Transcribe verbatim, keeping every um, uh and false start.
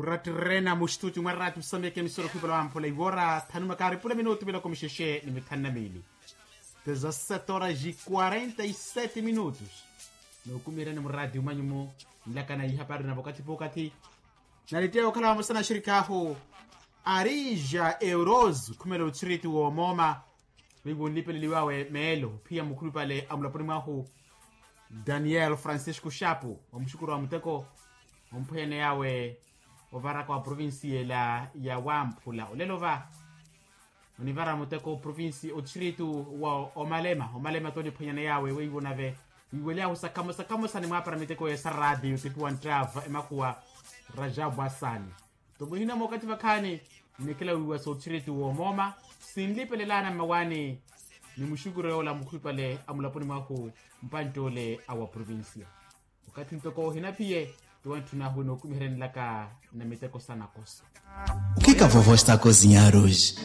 Rattirena muxituti mwa ratu sameke misoro khupela wamphula iwora thanu makaari pula minutu miloko mixexe ni mithanu na miili. Dezasete horas e quarenta e sete minutos. Nookumihereni murati umanyu mu nlakana ihapari na vokati pokati. Nalitteya okhala vamosa na axirikaahu arija euroso khumela otxiritu woomooma. Wiiwo nlipeleliwawe meelo ophiya mukhulupale a mulaponi mwahu daniel francisco xapu wa muxukuru wa muteko. Omphweyaneyaawe ovaraka wa provincia ela ya wamphula olelo va onivara muteko provinsi otxiritu wa omalema omalema toniphwenyana yaawe weiwo nave wiiwelyahu sakamosa kamosa nimwaapara miteko esa radiyo tipiwa nttava emakhuwa. Rajabu asani tomuhina mookati vakhaani nnikhela wiiwa sootxiritu woomooma sinlipelelaana mmawaani. Ni muxukuru yoola mukhulupale a mulaponi mwahu mpantt'ole a wa provinsiya okathi ntoko ohinaphiye. Tiwantthuna ahu nookumiherenlaka na miteko sa nakoso. Okhika vovo estako zinyaruji.